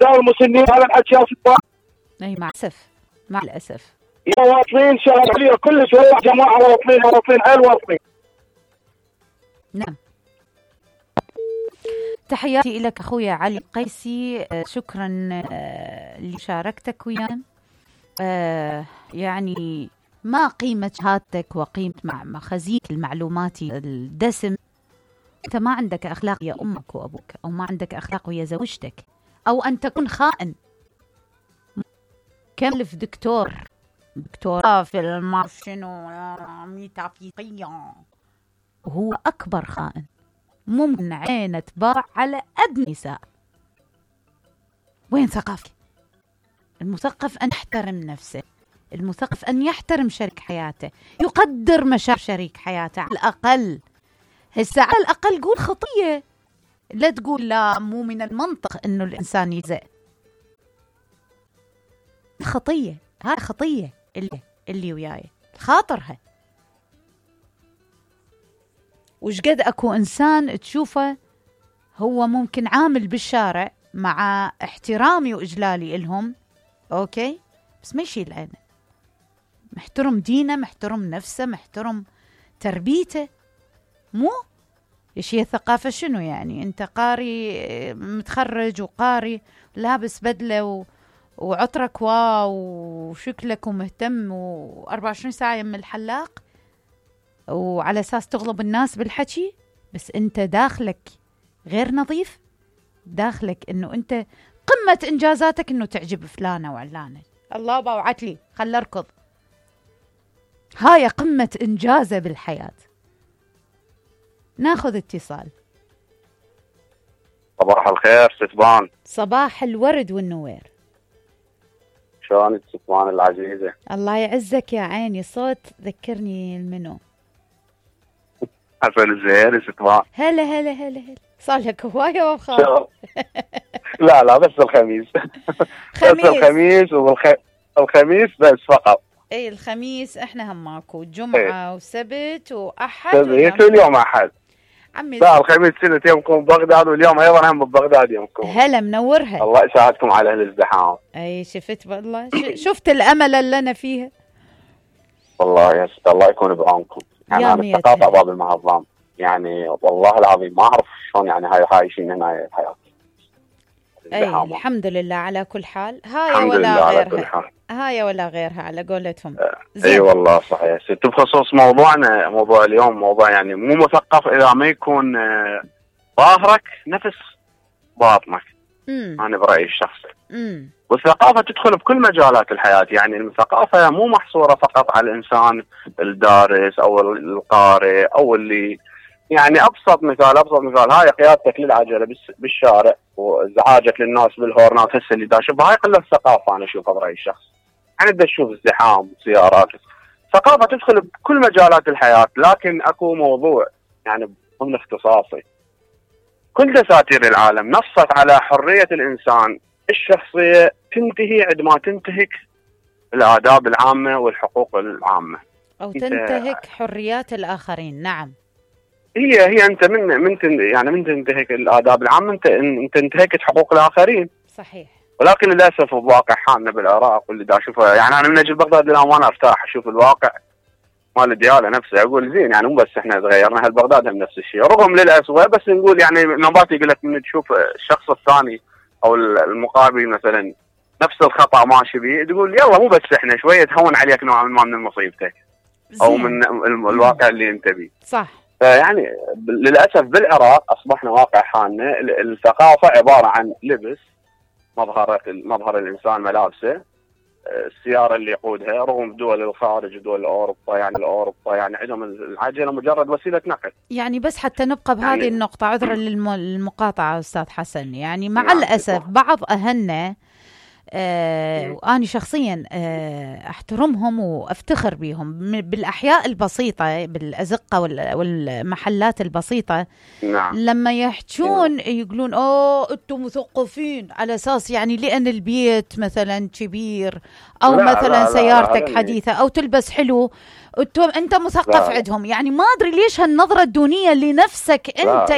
دار المسنين هذا الحكي يا سلطان. اي مع الاسف، مع الاسف. يا واصلين شهر عليا كلش والله جماعه واصلين حيل واصلين. نعم. تحياتي لك اخويا علي قيسي، شكرا لمشاركتك ويانا. يعني ما قيمة شهادتك وقيمة مخازيك المعلوماتي الدسم. انت ما عندك اخلاق يا امك وابوك، او ما عندك اخلاق ويا زوجتك، او ان تكون خائن. كلف دكتور في المعرف شنو ميتافيزيقية، وهو اكبر خائن. ممكن عينه تباع على ادنى نساء. وين ثقافتك؟ المثقف ان يحترم نفسه، المثقف ان يحترم شريك حياته، يقدر مشاعر شريك حياته على الاقل. هسه على الاقل قول خطيه، لا تقول لا مو من المنطق انه الانسان يزأ. خطيه، هاي خطيه اللي وياي خاطرها. وش قد اكو انسان تشوفه هو ممكن عامل بالشارع مع احترامي واجلالي لهم، اوكي، بس ما يشيل عينه، محترم دينه، محترم نفسه، محترم تربيته. مو ايش هي الثقافه؟ شنو يعني انت قاري متخرج وقاري لابس بدله وعطرك واو وشكلك ومهتم و24 ساعه يم الحلاق وعلى اساس تغلب الناس بالحكي، بس انت داخلك غير نظيف. داخلك انه انت قمه انجازاتك انه تعجب فلانه وعلانه. الله باوعت لي خل اركض. هاي قمه انجازه بالحياه. ناخذ اتصال. صباح الخير ستبان. صباح الورد والنوير. شلونك ستبان العزيزه؟ الله يعزك يا عيني. صوت ذكرني المنو. حسن الزهيري ستبان. هلا هلا هلا هلا. صار لك هوايه وخاف. لا بس الخميس. خميس. بس الخميس الخميس بس فقط. اي الخميس احنا هم ماكو، جمعه وسبت واحد سبت واليوم احد عمي. لا الخميس سنة يومكم ببغداد، واليوم ايضا هم ببغداد يومكم. هلا منورها. الله يساعدكم على هالازدحام. اي شفت والله شفت الامل اللي انا فيها. والله يا ست الله يكون بعونكم. يعني انا استقاطع باب المهضام، يعني والله العظيم ما اعرف شلون يعني هاي عايشين هنا الحياه. اي الحمد لله على كل حال. هاي ولا غيرها، هاي ولا غيرها على قولتهم. اي والله صحيح. ست بخصوص موضوعنا، موضوع اليوم موضوع يعني مو مثقف اذا ما يكون ظاهرك نفس باطنك. انا برايي الشخصي. والثقافه تدخل بكل مجالات الحياه، يعني الثقافه مو محصوره فقط على الانسان الدارس او القارئ او اللي يعني ابسط مثال هاي قيادتك للعجله بالشارع وازعاجك للناس بالهورنات هسه اللي دا شوفها، هاي قله ثقافه انا اشوفها برايي الشخص. يعني دا تشوف ازدحام سيارات. ثقافه تدخل بكل مجالات الحياه، لكن اكو موضوع يعني ضمن اختصاصي. كل دساتير العالم نصت على حريه الانسان الشخصيه تنتهي عندما تنتهك الآداب العامه والحقوق العامه، او تنتهك حريات الاخرين. نعم. هي انت من تنتهك الآداب العامه انت انتهكت حقوق الاخرين. صحيح. ولكن للاسف بواقع حالنا بالعراق واللي دا اشوفه، يعني انا من اجي بغداد للامانه ارتاح اشوف الواقع مال الدياله نفسه، اقول زين يعني مو بس احنا تغيرنا، هل بغداد هم نفس الشيء رغم للاسوء، بس نقول يعني نوبات يقول لك من تشوف الشخص الثاني او المقابل مثلا نفس الخطا ماشي بيه، تقول يلا مو بس احنا شويه تهون عليك نوعا ما من مصيبتك او من الواقع اللي انت بيه. صح. فيعني للاسف بالعراق اصبحنا واقع حالنا الثقافه عباره عن لبس، مظهر الانسان ملابسه، السياره اللي يقودها، رغم دول الخارج ودول اوروبا يعني عندهم العجله مجرد وسيله نقل. يعني بس حتى نبقى بهذه النقطه، عذرا للمقاطعه استاذ حسن، يعني مع الاسف بعض اهلنا وأنا شخصيا أحترمهم وأفتخر بهم بالأحياء البسيطة بالأزقة والمحلات البسيطة. نعم. لما يحجون يقولون أنتم مثقفين على أساس يعني لأن البيت مثلا كبير أو مثلا سيارتك حديثة أو تلبس حلو أنت مثقف عندهم. يعني ما أدري ليش هالنظرة الدونية لنفسك أنت